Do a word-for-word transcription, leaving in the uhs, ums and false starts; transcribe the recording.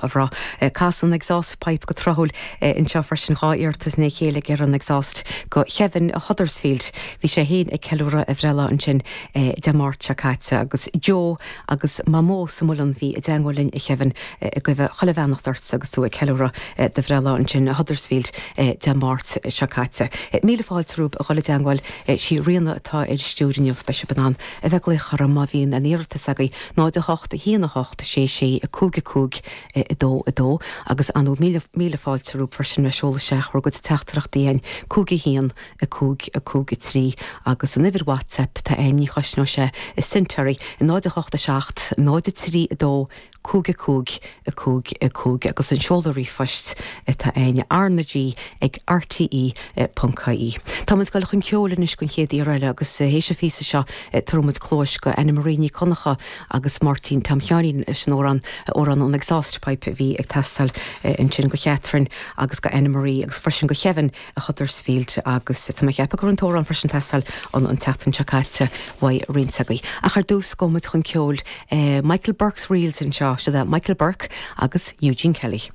a bhrath. Casann Exhaust Pipe go tráthúil anseo freisin dhá iarratas i ndiaidh a chéile ag iarraidh an Exhaust go Kevin Huddersfield. Bhí sé féin ag ceiliúradh a bhreithlá ansin Dé Máirt seo caite agus Joe agus Mamó sa Mhuileann bhí i dteagmháil linn a Kevin ag guí chuile bheannacht ort agus tú ag ceiliúradh do bhreithlá ansin Huddersfield Dé Máirt seo caite. Míle fáilte romhaibh a dhul i dteagmháil sí Ríona atá ar stiúir inniu beidh sibh in ann a bheith ag glaoch orm má bhíonn aon iarratas agaibh náid a hocht a haon a hocht sé sé a cúig a cúig a dó a dó agus anú míle míle fáilte romhaibh freisin le seoladh isteach bhur gcuid teachtaireachtaí chugainn cúig a haon a cúig a cúig a trí agus an uimhir WhatsApp tá aon ní chosnóidh sé i cent oraibh náid a hocht a seacht náid a trí a dó cúig a cúig a cúig a cúig agus an seoladh ríomhphoist atá againn R na G ag RTE ponc ie. Tá muid ag dul chun ceoil anois don chéad iarraidh eile agus théis an phíosa seo tabharfaidh muid cluas go Anna Marie Ní Chonchú agus Máirtín Tom Sheáinín leis an amhrán amhrán an Exhaust Pipe a bhí ag teastáil ansin go Catherine agus go Anna Marie agus freisin go Kevin a Huddersfield agus tá mé ag ceapadh go raibh an t-amhrán freisin ag teastáil an an tseachtain seo caite uaidh roinnt agaibh. Ach ar dtús gabhfaidh muid chun ceoil Michael Burke's Reels anseo siad Michael Burke agus Eugene Kelly.